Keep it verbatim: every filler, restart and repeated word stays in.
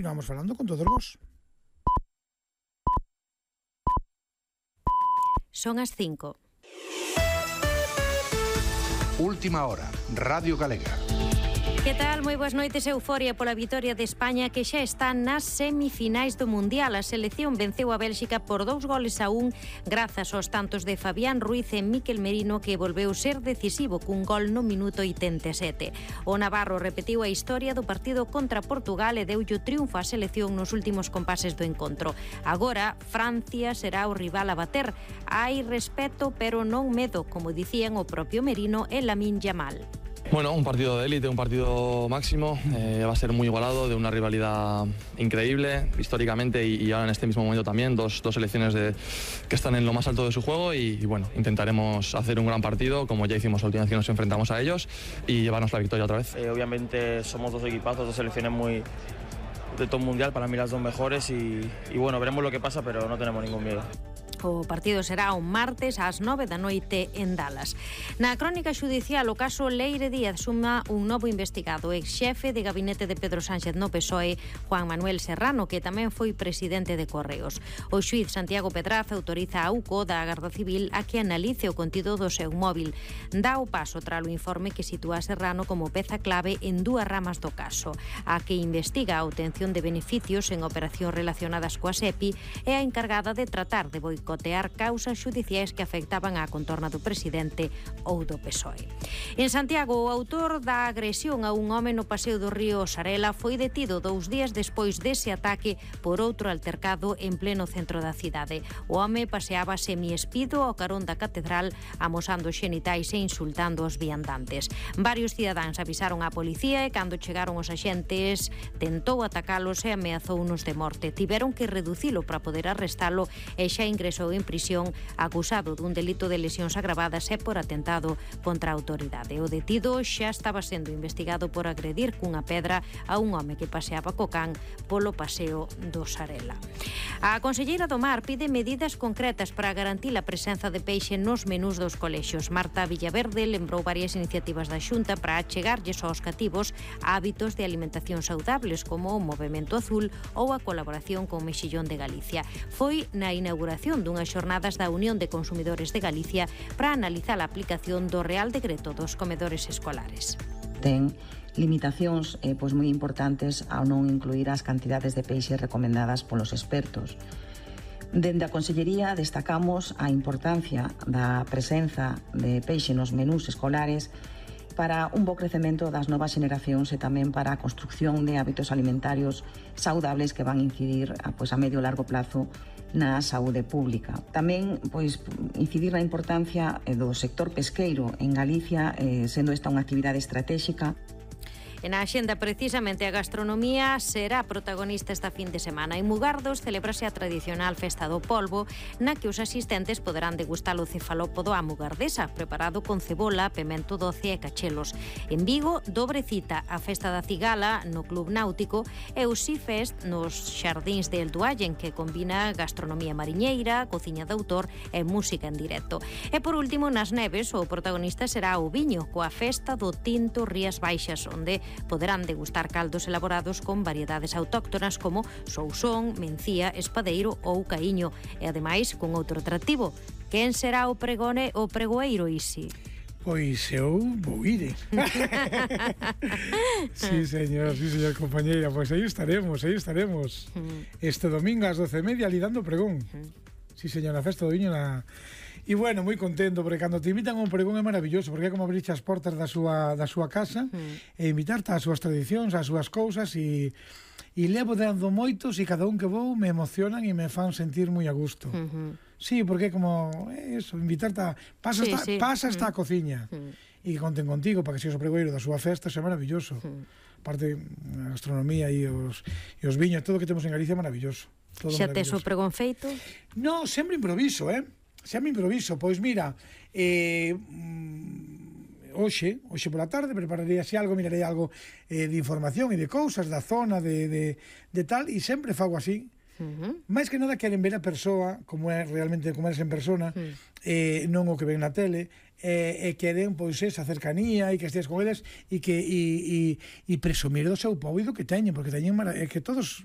continuamos falando con todos vos. Son as cinco. Última hora, Radio Galega. Que tal? Moi boas noites. Euforia pola vitoria de España, que xa está nas semifinais do Mundial. A selección venceu a Bélxica por dous goles a un grazas aos tantos de Fabián Ruiz e Mikel Merino, que volveu ser decisivo cun gol no minuto oitenta e sete. O navarro repetiu a historia do partido contra Portugal e deulle o triunfo á selección nos últimos compases do encontro. Agora, Francia será o rival a bater. Hai respeto, pero non medo, como dicían o propio Merino e Lamine Yamal. Bueno, un partido de élite, un partido máximo, eh, va a ser muy igualado, de una rivalidad increíble históricamente y, y ahora en este mismo momento también, dos, dos selecciones de, que están en lo más alto de su juego y, y bueno, intentaremos hacer un gran partido como ya hicimos la última vez que nos enfrentamos a ellos y llevarnos la victoria otra vez. Eh, obviamente somos dos equipazos, dos selecciones muy de top mundial, para mí las dos mejores y, y bueno, veremos lo que pasa, pero no tenemos ningún miedo. O partido será un martes ás nove da noite en Dallas. Na crónica xudicial, o caso Leire Díaz suma un novo investigado, ex xefe de gabinete de Pedro Sánchez no P S O E, Juan Manuel Serrano, que tamén foi presidente de Correos. O xuíz Santiago Pedraza autoriza a U C O da Garda Civil a que analice o contido do seu móvil. Dá o paso tras o informe que sitúa a Serrano como peza clave en dúas ramas do caso, a que investiga a obtención de beneficios en operacións relacionadas coa SEPI e a encargada de tratar de boicotar cotear causas xudiciais que afectaban á contorna do presidente ou do P S O E. En Santiago, o autor da agresión a un home no paseo do río Sarela foi detido dous días despois dese ataque por outro altercado en pleno centro da cidade. O home paseaba semiespido ao carón da catedral, amosando xenitais e insultando os viandantes. Varios cidadáns avisaron á policía e cando chegaron os axentes tentou atacalos e ameazounos de morte. Tiveron que reducilo para poder arrestalo e xa ingresou en prisión acusado dun delito de lesións agravadas e por atentado contra a autoridade. O detido xa estaba sendo investigado por agredir cunha pedra a un home que paseaba co can polo paseo do Sarela. A conselleira do Mar pide medidas concretas para garantir a presenza de peixe nos menús dos colexios. Marta Villaverde lembrou varias iniciativas da Xunta para achegarlles aos cativos hábitos de alimentación saudables como o Movemento Azul ou a colaboración con Mexillón de Galicia. Foi na inauguración dunhas xornadas da Unión de Consumidores de Galicia para analizar a aplicación do Real Decreto dos comedores escolares. Ten limitacións eh, pois moi importantes ao non incluir as cantidades de peixe recomendadas polos expertos. Dende a Consellería destacamos a importancia da presenza de peixe nos menús escolares para un bo crecemento das novas xeneracións e tamén para a construcción de hábitos alimentarios saudables que van incidir a, pois, a medio e largo plazo na saúde pública. Tamén pois incidir na importancia do sector pesqueiro en Galicia, eh, sendo esta unha actividade estratégica. En a axenda, precisamente, a gastronomía será protagonista esta fin de semana. En Mugardos celebrase a tradicional Festa do Polvo, na que os asistentes poderán degustar o cefalópodo á mugardesa, preparado con cebola, pemento doce e cachelos. En Vigo, dobre cita a Festa da Cigala no Club Náutico e o Sea Fest nos Xardíns de Elduallen, que combina gastronomía mariñeira, cociña de autor e música en directo. E por último, nas Neves, o protagonista será o viño, coa Festa do Tinto Rías Baixas, onde poderán degustar caldos elaborados con variedades autóctonas como sousón, mencía, espadeiro ou caíño e ademais con outro atractivo. Quen será o pregone o pregoeiro, Isi? Pois eu vou ir. Sí, señor, sí, señor, compañeira. Pois aí estaremos, aí estaremos. Este domingo ás doce e media ali dando pregón. Sí, señor, na Festa do Viño na... E bueno, moi contento, porque cando te invitan a un pregón é maravilloso, porque é como abrirche as portas da súa, da súa casa mm. e invitarte ás súas tradicións, ás súas cousas, e, e levo dando moitos e cada un que vou me emocionan e me fan sentir moi a gusto. Mm-hmm. Sí, porque é como eso, invitarte a... Pasa sí, esta, sí. Pasa esta mm. cociña mm. e que conten contigo para que seas o pregoeiro da súa festa, é maravilloso. Mm. Aparte, a gastronomía e os, e os viños, todo o que temos en Galicia é maravilloso. Todo xa tes o pregón feito? No, sempre improviso, eh? Sempre improviso, pois mira, eh, hoxe, hoxe pola tarde prepararei así algo, mirarei algo eh, de información e de cousas da zona, de, de, de tal, e sempre fago así. Uh-huh. máis que nada queren ver a persoa como é realmente, como eres en persona, uh-huh. eh, non o que ven na tele, e eh, queren pois esa cercanía e que estés con eles e que e, e, e presumir do seu pobo e do que teñen, porque teñen mara... é que todos